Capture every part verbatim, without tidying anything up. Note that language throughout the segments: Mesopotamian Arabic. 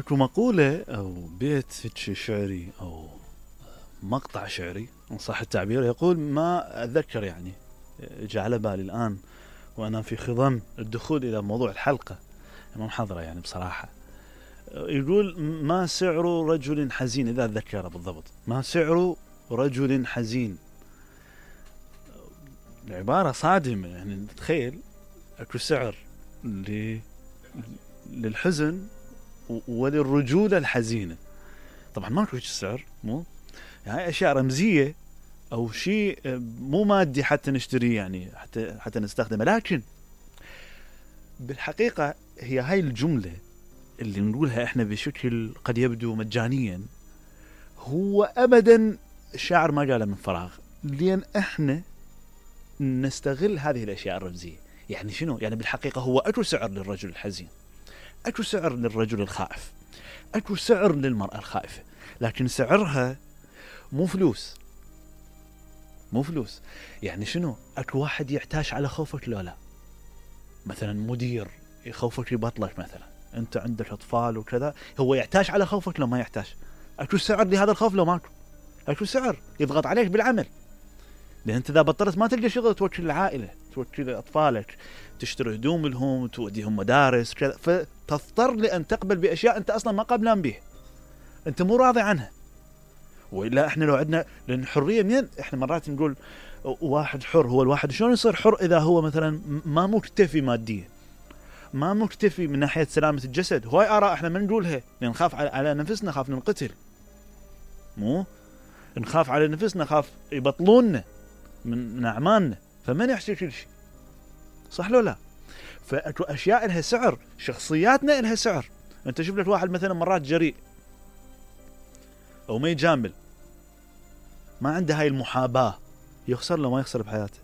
اكو مقولة او بيت شعري او مقطع شعري ان صح التعبير، يقول ما اتذكر يعني جاء على بالي الان وانا في خضم الدخول الى موضوع الحلقة ما محضرة يعني بصراحة. يقول ما سعر رجل حزين، اذا اتذكره بالضبط، ما سعر رجل حزين. العبارة صادمة يعني، تخيل اكو سعر للحزن وللرجولة الحزينة. طبعا ما اكو سعر، مو يعني اشياء رمزية او شيء مو مادي حتى نشتريه يعني حتى حتى نستخدمه، لكن بالحقيقة هي هاي الجملة اللي نقولها احنا بشكل قد يبدو مجانيا هو ابدا الشاعر ما قاله من فراغ، لان احنا نستغل هذه الاشياء الرمزية. يعني شنو؟ يعني بالحقيقة هو اكو سعر للرجل الحزين، اكو سعر للرجل الخائف، اكو سعر للمرأة الخائفة، لكن سعرها مو فلوس، مو فلوس. يعني شنو؟ اكو واحد يحتاج على خوفك لو لا، مثلا مدير يخوفك يبطلك مثلا، انت عندك اطفال وكذا، هو يحتاج على خوفك لو ما يحتاج؟ اكو سعر لهذا الخوف لو ماكو؟ اكو سعر يضغط عليك بالعمل، لان انت اذا بطلت ما تلقى شغل توكل العائلة، توكل اطفالك، تشتري هدوم لهم، توديهم مدارس كذا، فتضطر لان تقبل باشياء انت اصلا ما قبلان به، انت مو راضي عنها. والا احنا لو عندنا، لان الحريه منين؟ احنا مرات نقول واحد حر، هو الواحد شلون يصير حر اذا هو مثلا ما مكتفي ماديا، ما مكتفي من ناحيه سلامه الجسد؟ هواي اراء احنا ما نقولها لان نخاف على نفسنا، خاف ننقتل، مو نخاف على نفسنا، خاف يبطلوننا من, من اعمالنا، فما نحكي كل شيء، صح لو لا؟ فاكو اشياء لها سعر، شخصياتنا لها سعر. انت شوف لك واحد مثلا مرات جريء او ما يجامل، ما عنده هاي المحاباة، يخسر لو ما يخسر بحياته؟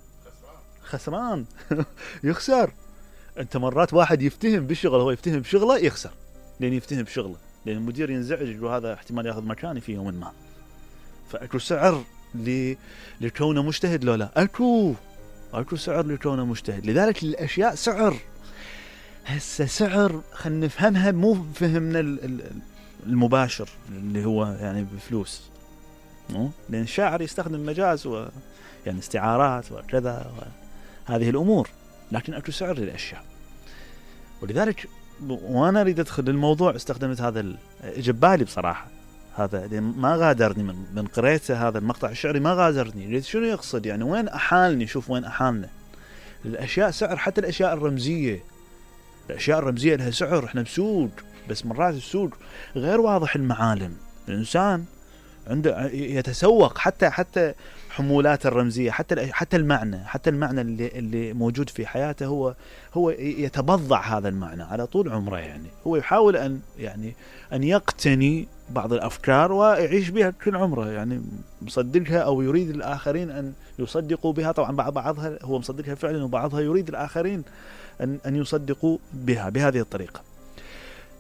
خسران يخسر. انت مرات واحد يفتهم بالشغل، هو يفتهم بشغله يخسر، لان يفتهم بشغله، لان المدير ينزعج يقول هذا احتمال ياخذ مكاني في يوم ما. فاكو سعر ل... لكونه مجتهد لو لا؟ اكو اكو سعر لكونه مجتهد. لذلك الاشياء سعر. هسه سعر خلينا نفهمها، مو فهمنا المباشر اللي هو يعني بفلوس، مو لان الشاعر يستخدم مجاز و يعني استعارات وكذا وهذه الامور، لكن اكو سعر للاشياء. ولذلك وانا اريد ادخل للموضوع استخدمت هذا الجبالي بصراحه، هذا ما غادرني من من قريته، هذا المقطع الشعري ما غادرني. شنو يقصد يعني؟ وين احالني؟ شوف وين احالنا. الاشياء سعر، حتى الاشياء الرمزيه، الاشياء الرمزيه لها سعر. احنا بسوق، بس مرات السوق غير واضح المعالم، الانسان عنده يتسوق حتى حتى حمولات الرمزيه، حتى حتى المعنى، حتى المعنى اللي اللي موجود في حياته، هو هو يتبضع هذا المعنى على طول عمره. يعني هو يحاول ان يعني ان يقتني بعض الافكار ويعيش بها كل عمره، يعني مصدقها او يريد الاخرين ان يصدقوا بها. طبعا بعض بعضها هو مصدقها فعلا، وبعضها يريد الاخرين ان ان يصدقوا بها بهذه الطريقه.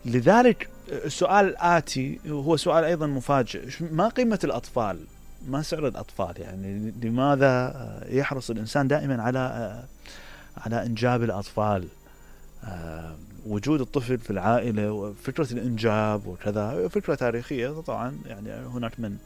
لذلك السؤال الآتي هو سؤال أيضا مفاجئ: ما قيمة الأطفال؟ ما سعر الأطفال؟ يعني لماذا يحرص الإنسان دائما على على إنجاب الأطفال؟ وجود الطفل في العائلة وفكرة الإنجاب وكذا فكرة تاريخية طبعا، يعني هناك من